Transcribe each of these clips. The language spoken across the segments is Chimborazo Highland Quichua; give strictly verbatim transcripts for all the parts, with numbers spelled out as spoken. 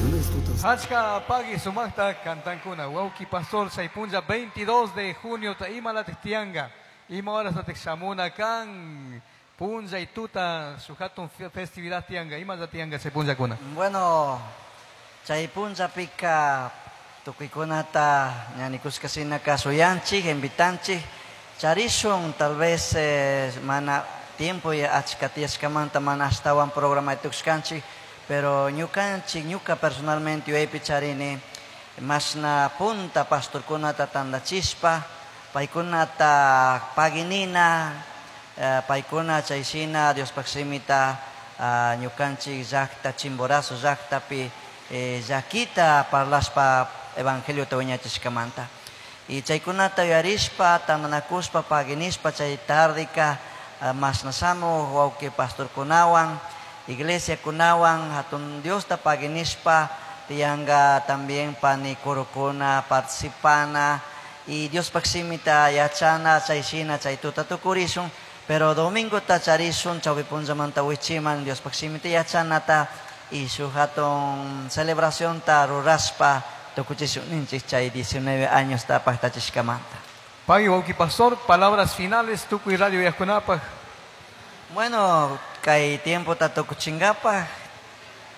Bendiciones tutas. Achka pagui sumaqta kantankuna wawki pastor chay punlla veintidós de junio ta imalatik tianga ima horas tatik shamuna kan punlla y tuta shuk hatun festividad tianga ima tianga chay punllakuna. Bueno, chay punllapika tukuykunata ñanikushka shinaka shuyanchik, invitanchik, charishun tal vez eh, mana tiempo ya achka tiyashkamanta mana ashtawan programa tukushkanchik, pero ñukanchik, ñuka personalmente yuyaypi charini mashna punta pastorkunata tandachishpa paykunata paginina, eh, paykuna chayshina Diospaq shimita uh, ñukanchik llaqta Chimborazo llaqtapi eh, llakita parlashpa evangeliota wiñachishkamanta. Y chaykunata yuyarishpa tandanakushpa paginishpa chay tardeka uh, mashnashamuj wawqi pastorkunawan iglesiakunawan hatun Diosta paginishpa tiyanga también pani kurukuna participana y Diospaq shimita yachana chayshina chay tuta tukurishun, pero domingo ta charishun chawpi punllamanta wichiman Diospaq shimita yachanata y shuk hatun celebración ta rurashpa tukuchishun ninchik chay diecinueve años ta paqtachishkamanta. Pagui wawqi pastor, palabras finales tukuy radio uyaqkunapaq. Bueno, kay tiempo ta tukuchinkapaq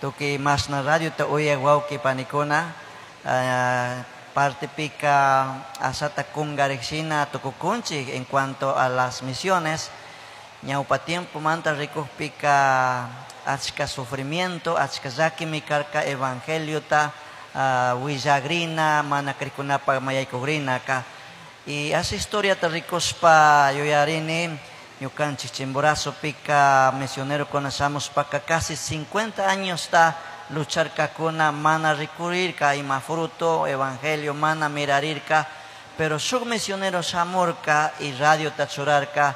tukuy mashna radio ta uyaq wawqi panikuna uh, partipika asata kungarikshina tukukunchik en cuanto a las misiones. Ñawpa tiempo manta rikukpika achka sufrimiento, achka llakimi karka evangeliota uh, willagrina, mana krikunapaq mayaykugrinaka. Y asa historia ta rikushpa yuyarini ñukanchik Chimborazopika misionero shamushpaka casi cincuenta años ta lucharkakuna mana rikurirka ima fruto evangelio mana mirarirka, pero shuk misionero shamurka y radio ta churarka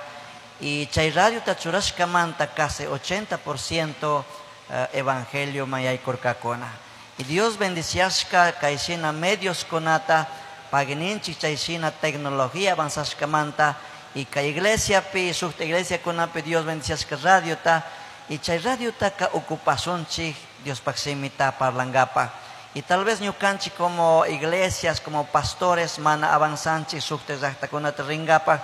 y chay radio ta churashkamanta casi ochenta por ciento evangelio mayaykurkakuna. Y Dios bendiciashka kayshina medios kunata pagininchik chayshina tecnología avanzashkamanta y kay iglesia pi shukta iglesia kunapi Dios bendiciashka radio ta y chay radio ta ka ocupasunchik Diospaq shimita parlankapaq. Y tal vez ñukanchik como iglesias, como pastores mana avanzanchik shukta llaqtakunata rinkapaq,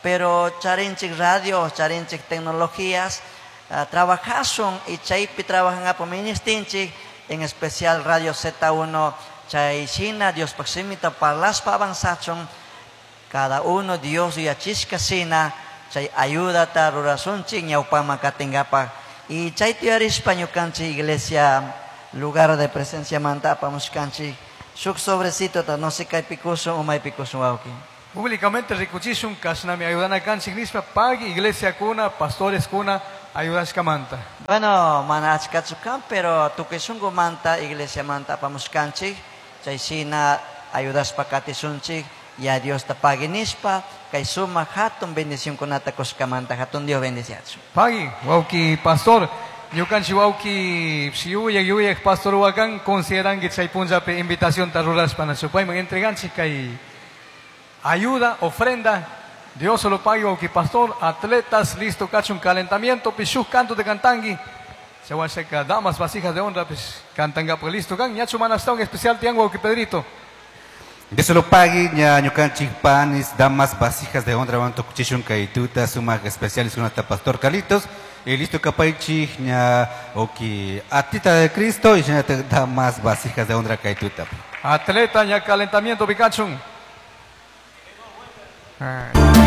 pero charinchik radio, charinchik tecnologías, uh, trabajasun y chaypi trabajangapak ministinchik, en especial Radio Z uno chayshina Diospaq shimita parlashpa avanzachun cada uno Dios yachishka shina chay ayudata rurasunchik ñawpaman katinkapak. Y chay tiyarishpa ñukanchik iglesia lugar de presencia manta apamushkanchik shuk sobrecito ta no sé kaypi kushun o maypi kushun wawqi. Públicamente rikuchishun kashnami ayudana kanchik nishpa pagui iglesia kuna pastores kuna ayudashkamanta. Bueno, mana achkachu kan, pero tukuy shunqumanta iglesia manta apamushkanchik chayshina ayudashpa katishunchik ya Dios ta pagui nishpa kay sumaq hatun bendicionkunata kushkamanta hatun Dios bendiciachun. Pagui wawqi pastor ñukanchik wawqi yuyaq yuyaq pastor wakan consideranki chay punllapi invitación ta rurashpa nachu payman entreganchik kay ayuda, ofrenda. Dios se lo pague, wawqi pastor, atletas, listo kachun calentamiento, pishuk canto de cantangui. Se va a secar damas, vasijas de honra, pues cantanga, pues listo kan, ñachu manastón especial tiango, wawqi Pedrito. Dios se lo pague, ña ñukanchik panis, damas, vasijas de honra, van tokuchishun kay tuta, sumaq especiales con hasta pastor Carlitos. Y listo kapaychik, ña oki atleta de Cristo y ña damas, vasijas de honra kaytuta. Atleta, ña calentamiento, pikachun. Ah.